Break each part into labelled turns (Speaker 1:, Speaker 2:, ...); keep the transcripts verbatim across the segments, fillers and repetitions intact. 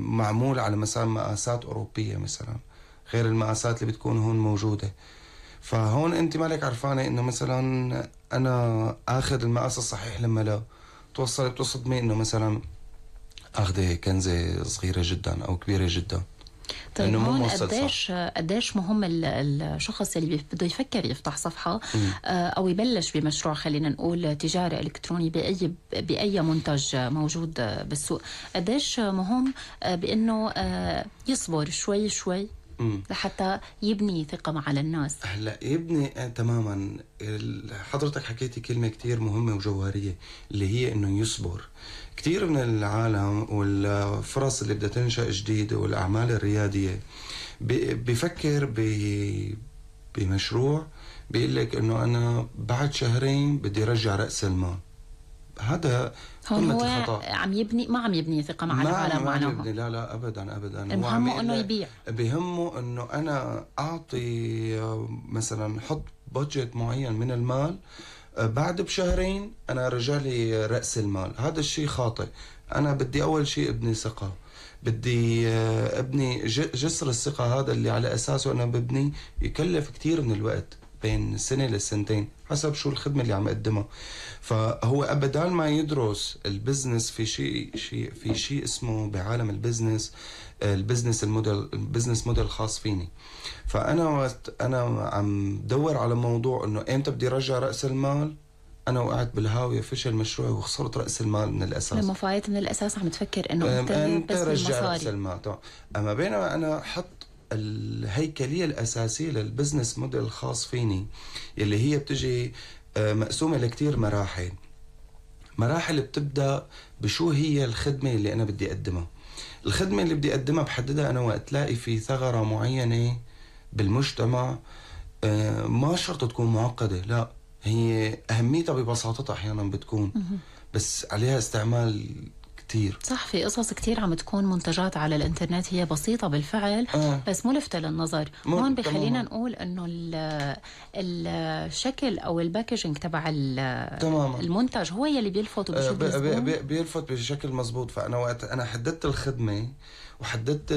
Speaker 1: معمول على مثلا مقاسات أوروبية مثلا غير المقاسات اللي بتكون هون موجودة. فهون انت مالك عرفانة انه مثلا انا اخذ المقاس الصحيح لما لا توصل بتصدمي انه مثلا اخذ كنزة صغيرة جدا او كبيرة جدا.
Speaker 2: طيب هون قديش قديش مهم الشخص اللي بده يفكر يفتح صفحة م. او يبلش بمشروع خلينا نقول تجاري الكتروني باي باي منتج موجود بالسوق، قديش مهم بانه يصبر شوي شوي مم. لحتى يبني ثقة مع الناس.
Speaker 1: هلا يبني آه تماما. حضرتك حكيتي كلمة كتير مهمة وجوهرية اللي هي انه يصبر. كتير من العالم والفرص اللي بدها تنشأ جديدة والاعمال الريادية بفكر بمشروع بيقول لك انه انا بعد شهرين بدي رجع رأس المال. هذا
Speaker 2: هون هو الخطأ. عم يبني ما عم يبني ثقة مع العالم معناها.
Speaker 1: لا لا ابدا ابدا.
Speaker 2: المهم انه يبيع.
Speaker 1: بهمه انه انا اعطي مثلا حط بادجت معين من المال، بعد بشهرين انا رجع لي رأس المال. هذا الشيء خاطئ. انا بدي اول شيء ابني ثقة، بدي ابني جسر الثقة هذا اللي على اساسه انا ببني يكلف كتير من الوقت بين سنة لسنتين حسب شو الخدمة اللي عم اقدمها. فهو ابدا ما يدرس البزنس في شيء شيء في شيء اسمه بعالم البزنس البزنس الموديل البزنس موديل خاص فيني. فانا وقت انا عم دور على موضوع انه امتى بدي رجع راس المال، انا وقعت بالهاويه فشل مشروعي وخسرت راس المال من الاساس.
Speaker 2: لما فايت من الاساس عم تفكر انه انت,
Speaker 1: انت بس رجع راس المال. طبعا اما بينما انا حط الهيكليه الاساسيه للبزنس موديل الخاص فيني اللي هي بتجي مقسومه لكتير مراحل. مراحل بتبدا بشو هي الخدمه اللي انا بدي اقدمها. الخدمه اللي بدي اقدمها بحددها انا وقت تلاقي في ثغره معينه بالمجتمع. ما شرط تكون معقده، لا هي اهميتها ببساطتها احيانا بتكون بس عليها استعمال كتير.
Speaker 2: صح، في قصص كتير عم تكون منتجات على الانترنت هي بسيطة بالفعل آه. بس ملفتة للنظر. هون بخلينا نقول انه الشكل او الباكجينج تبع المنتج هو يلي بيلفت وبشد الزبون.
Speaker 1: بي بيلفت بشكل مزبوط. فانا وقت انا حددت الخدمة وحددت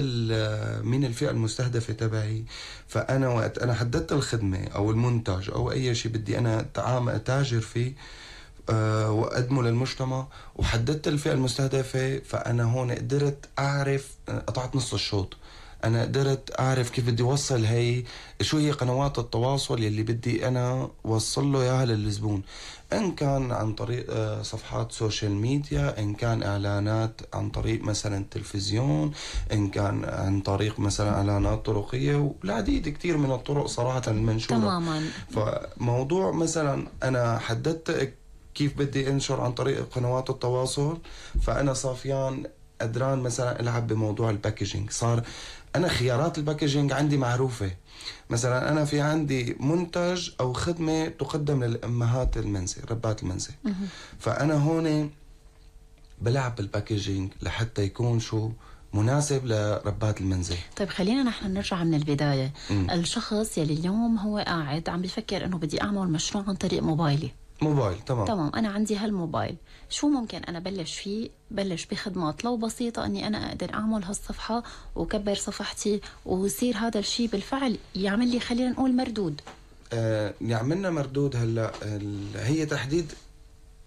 Speaker 1: مين الفئة المستهدفة تبعي، فانا وقت انا حددت الخدمة او المنتج او اي شيء بدي انا تاجر فيه أه وأقدمه للمجتمع وحددت الفئة المستهدفة، فأنا هون قدرت أعرف قطعت نص الشوط. أنا قدرت أعرف كيف بدي وصل هي شو هي قنوات التواصل يلي بدي أنا وصل له إياها للزبون، إن كان عن طريق صفحات سوشيال ميديا، إن كان إعلانات عن طريق مثلا تلفزيون، إن كان عن طريق مثلا إعلانات طرقية والعديد كتير من الطرق صراحة المنشورة.
Speaker 2: تماما.
Speaker 1: فموضوع مثلا أنا حددت كيف بدي انشر عن طريق قنوات التواصل، فانا صافيان قدران مثلا العب بموضوع الباكجينج. صار انا خيارات الباكجينج عندي معروفه. مثلا انا في عندي منتج او خدمه تقدم للامهات المنزل ربات المنزل، فانا هون بلعب بالباكجينج لحتى يكون شو مناسب لربات المنزل.
Speaker 2: طيب خلينا نحن نرجع من البدايه. م. الشخص يلي اليوم هو قاعد عم بيفكر انه بدي اعمل مشروع عن طريق موبايلي.
Speaker 1: موبايل تمام
Speaker 2: تمام انا عندي هالموبايل، شو ممكن انا بلش فيه؟ بلش بخدمات لو بسيطه اني انا اقدر اعمل هالصفحه وكبر صفحتي ويصير هذا الشيء بالفعل يعمل لي خلينا نقول مردود.
Speaker 1: آه يعملنا مردود. هلا هي تحديد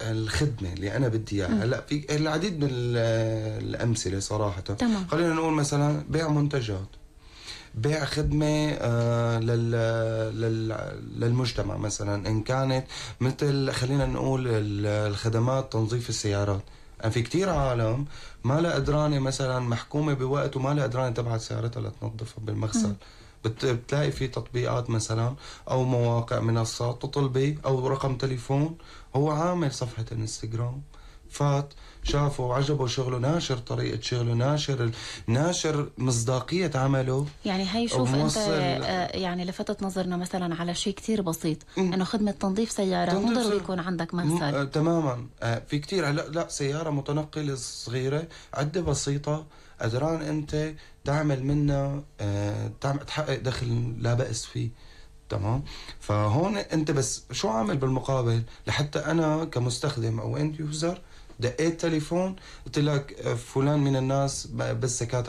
Speaker 1: الخدمه اللي انا بدي اياها. هلا في العديد من الامثله صراحه.
Speaker 2: تمام.
Speaker 1: خلينا نقول مثلا بيع منتجات، بيع خدمة آه لل لل للمجتمع مثلا، إن كانت مثل خلينا نقول الخدمات تنظيف السيارات. يعني في كتير عالم ما لا قدرانة مثلا محكومة بوقت وما لا قدرانة تبعت سيارتها لتنظفها بالمغسل. بتلاقي في تطبيقات مثلا أو مواقع منصات تطلبي أو رقم تليفون، هو عامل صفحة انستغرام، فات شافوا وعجبوا شغله، ناشر طريقة شغله، ناشر ناشر مصداقية عمله.
Speaker 2: يعني هي شوف انت آه يعني لفتت نظرنا مثلا على شيء كتير بسيط انه خدمة تنظيف سيارات مو ضروري يكون عندك مغسل.
Speaker 1: آه تماما. آه في كتير لا لا سيارة متنقلة صغيرة عدة بسيطة قدران انت تعمل منها آه تعمل تحقق دخل لا بأس فيه. تمام. فهون انت بس شو عامل بالمقابل لحتى انا كمستخدم او اند يوزر دقيت تليفون قلت لك فلان من الناس بس زكاتك